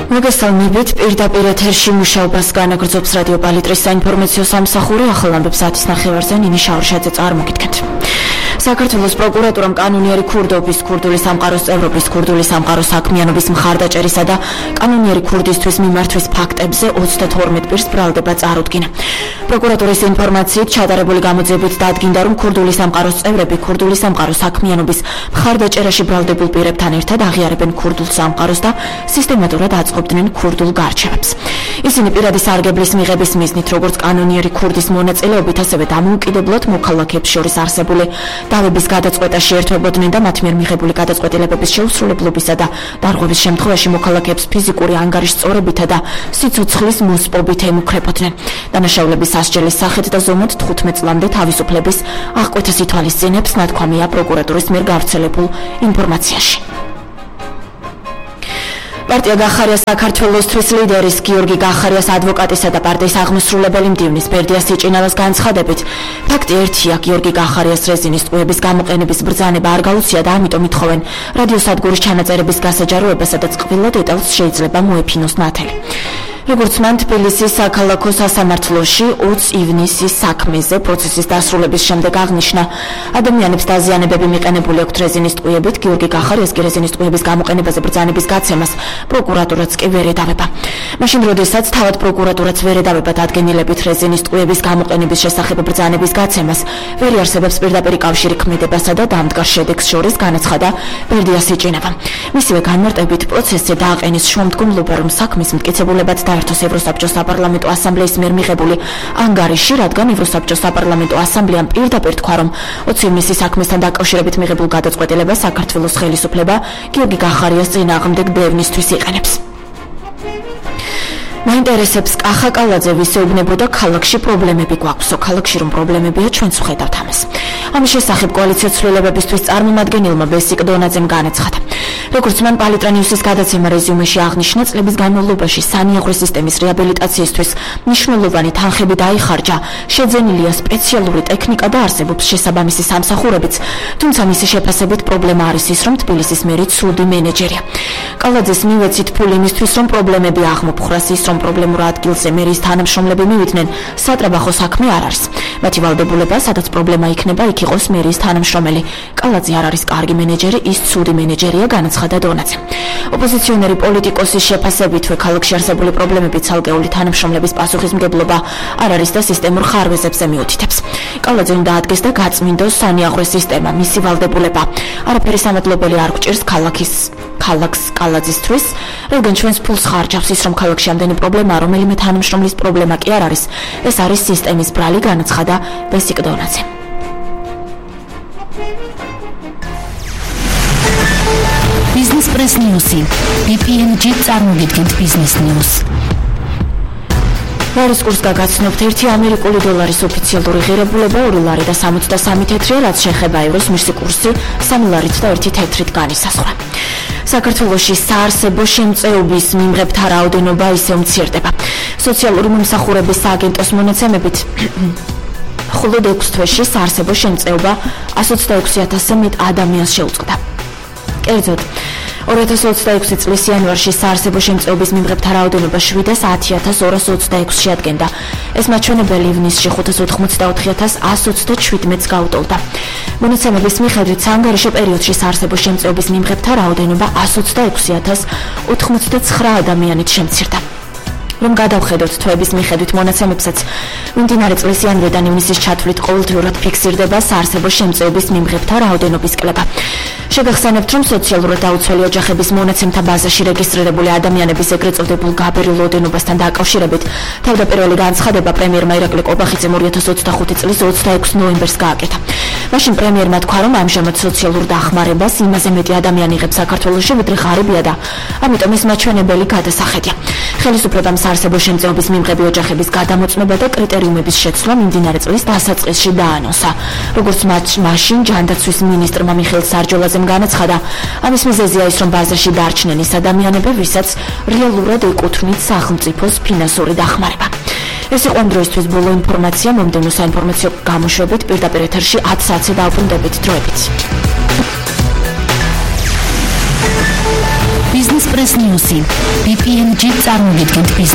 მოგესალმებით, პირდაპირ ეთერში მუშაობას განაგრძობს რადიო პალიტრის საინფორმაციო სამსახური. ახალ ამბებს 10:30-ზე ნინი შავრშაძე წარმოგიდგენთ. საქართველოს პროკურატურამ კანონიერი ქურდობის, ქურდული სამყაროს წევრობის, ქურდული სამყაროს საქმიანობის მხარდაჭერისა და კანონიერი ქურდისთვის მიმართვის ფაქტებზე 32 პირს ბრალდება წარუდგინა. პროკურატურის ინფორმაციით ჩატარებული გამოძიებით დადგინდა, რომ ქურდული სამყაროს წევრები ქურდული სამყაროს საქმიანობის მხარდაჭერაში ბრალდებულ პირებთან ერთად აღიარებენ ქურდულ სამყაროს და სისტემატურად აწყობდნენ ქურდულ გარჩევებს. ისინი პირადი სარგებლის მიღების მიზნით, როგორც კანონიერი ქურდის მონაწილეობით, ასევე დამოუკიდებლად მოქალაქეებს შორის არსებული დავების გადაწყვეტაში ერთვებოდნენ და მათ მიერ მიღებული გადაწყვეტილებების შეუსრულებლობისა და დარღვევის შემთხვევაში მოქალაქეებს ფიზიკური ანგარიშწორებითა და სიცოცხლის მოსპობით ემუქრებოდნენ. დანაშაულების სასჯელის სახით და ზომად 15 წლამდე თავისუფლების აღკვეთას ითვალისწინებს, ნათქვამია პროკურატურის მიერ გავრცელებულ ინფორმაციაში. პარტია გახარია საქართველოსთვის ლიდერის გიორგი გახარიას ადვოკატისა და პარტიის აღმასრულებელი მდივნის ბერდია სიჭინალას განცხადებით, ფაქტი ერთია, გიორგი გახარიას რეზინის ტყუების გამოყენების ბრძანება არ გაუწია და ამიტომ ითხოვენ რადიოსადგურის ჩანაწერების გასაჯაროებას, სადაც ყველა დეტალს შეიძლება მოეფინოს ნათელი. როგორც მან თბილისის საქალაქო სასამართლოში 20 ივნისის საქმეზე პროცესის დასრულების შემდეგ აღნიშნა, ადამიანებს დაზიანებები მიყენებული აქვთ რეზინის ტყუებით, გიორგი გახარიას კი რეზინის ტყუების გამოყენებაზე ბრძანების გაცემას პროკურატურაც კი ვერ ედავება. მაშინ, როდესაც თავად პროკურატურაც ვერ ედავება დადგენილებით რეზინის ტყუების გამოყენების შესახებ ბრძანების გაცემას, ვერ იარსებებს პირდაპირი კავშირი ქმედებასა და დამდგარ შედეგს შორის, განაცხადა ბერდია სიჭინავა. მისივე განმარტებით პროცესზე დააყენის შუამდგომლობა, რომ საქმის მტკიცებულებად დაერთოს ევროსაბჭოს საპარლამენტო ასამბლეის მიერ მიღებული ანგარიში, რადგან ევროსაბჭოს საპარლამენტო ასამბლეამ პირდაპირ თქვა, რომ 20 ივნისის საქმესთან დაკავშირებით მიღებულ გადაწყვეტილებას საქართველოს ხელისუფლება გიორგი გახარიას წინააღმდეგ დევნისთვის იყენებს. მაინტერესებს კახა კალაძე ვისეუბნებოდა, ქალაქში პრობლემები გვაქვსო, ქალაქში რომ პრობლემებია, ჩვენც ვხედავთ ამას. ამის შესახებ კოალიციო ცვლილებებისთვის წარმომადგენელმა ბესიკ დონაძემ განაცხადა. როგორც მან პალიტრა ნიუსის გადაცემა რეზიუმეში აღნიშნა, წლების განმავლობაში სანიაღვრე სისტემის რეაბილიტაციისთვის მნიშვნელოვანი თანხები დაიხარჯა, შეძენილია სპეციალური ტექნიკა და არსებობს შესაბამისი სამსახურებიც, თუმცა მისი შეფასებით პრობლემა არის ის, რომ თბილისის მერი ცუდი მენეჯერია. კალაძეს მივეცით ფული იმისთვის, რომ პრობლემები აღმოფხვრას, ის რომ პრობლემურ ადგილზე მერის თანამშრომლები მივიდნენ, სატრაბახო საქმე არ არის. მათი ვალდებულება, სადაც პრობლემა იქნება, იქ იყოს მერის თანამშრომელი. კალაძე არ არის კარგი მენეჯერი, ის ცუდი მენეჯერია, განაცხადა დონაძე. ოპოზიციონერი პოლიტიკოსის შეფასებითვე ქალაქში არსებული პრობლემები ცალკეული თანამშრომლების პასუხისმგებლობა არ არის და სისტემურ ხარვეზებზე მიუთითებს. კალაძე უნდა ადგეს და გაწმინდოს სანიაღვრე სისტემა, მისი ვალდებულება. არაფერი სამადლობელი არ გვჭირს ქალაქს კალაძისთვის, რადგან ჩვენს ფულს ხარჯავს ის, რომ ქალაქში ამდენი პრობლემაა, რომელიმე თანამშრომლის პრობლემა კი არ არის. ეს არის სისტემის ბრალი, განაცხადა ბესიკ დონაძე. Business Press News. BPNG წარმოგიდგენთ Business News. ლარის კურსს გაგაცნობთ, 1 ამერიკული დოლარის ოფიციალური ღირებულება 2 ლარი და 63 თეთრია, რაც შეეხება ევროს, მისი კურსი 3 ლარით და 1 თეთრით განისაზღვრა. საქართველოში საარსებო შემწეობის მიმღებთა რაოდენობა ისევ მცირდება. სოციალური მომსახურების სააგენტოს მონაცემებით მხოლოდ 6 თვეში საარსებო შემწეობა 126,000-ზე მეტ ადამიანს შეუწყდა. კერძოდ, 2026 წლის იანვარში საარსებო შემწეობის მიმღებთა რაოდენობა 710,226 შეადგენდა. ეს მაჩვენებელი ივნისში 584,127-ს გაუტოლდა. მონაცემების მიხედვით საანგარიშო პერიოდში საარსებო შემწეობის მიმღებთა რაოდენობა 126,089 ადამიანით შემცირდა. რომ გადავხედოთ თვეების მიხედვით მონაცემებსაც, მიმდინარე წლის იანვრიდან ივნისის ჩათვლით ყოველდღიურად ფიქსირდება საარსებო შემწეობის მიმღებთა რაოდენობის კლება. შეგახსენებთ, რომ სოციალურად დაუცველი ოჯახების მონაცემთა ბაზაში რეგისტრირებული ადამიანების ეგრეთ წოდებულ გაბერილ ოდენობასთან დაკავშირებით თავდაპირველი განცხადება პრემიერმა ირაკლი ყობახიძემ 2025 წლის 26 ნოემბერს გააკეთა. მაშინ პრემიერმა თქვა, რომ ამჟამად სოციალურ დახმარებას იმაზე მეტი ადამიანი იღებს საქართველოში, ვიდრე ღარიბია და ამიტომ ეს მაჩვენებელი გადასახედია. ხელისუფლებამ საარსებო შემწეობის მიმღები ოჯახების გადამოწმება და კრიტერიუმების შეცვლა მიმდინარე წლის დასაწყისში დაანონსა. როგორც მაშინ ჯანდაცვის მინისტრმა მიხეილ სარჯოლაძემ განაცხადა, ამის მიზეზია ის, რომ ბაზაში დარჩნენ ის ადამიანები, ვისაც რეალურად ეკუთვნით სახელმწიფოს ფინანსური დახმარება. ეს იყო ამ დროისთვის ბოლო ინფორმაცია. მომდევნო საინფორმაციო გამოშვებით პირდაპირ ეთერში 10 საათზე დავბრუნდებით. დროებით. Business Business Press News-ი. BPNG წარმოგიდგენთ ბიზნეს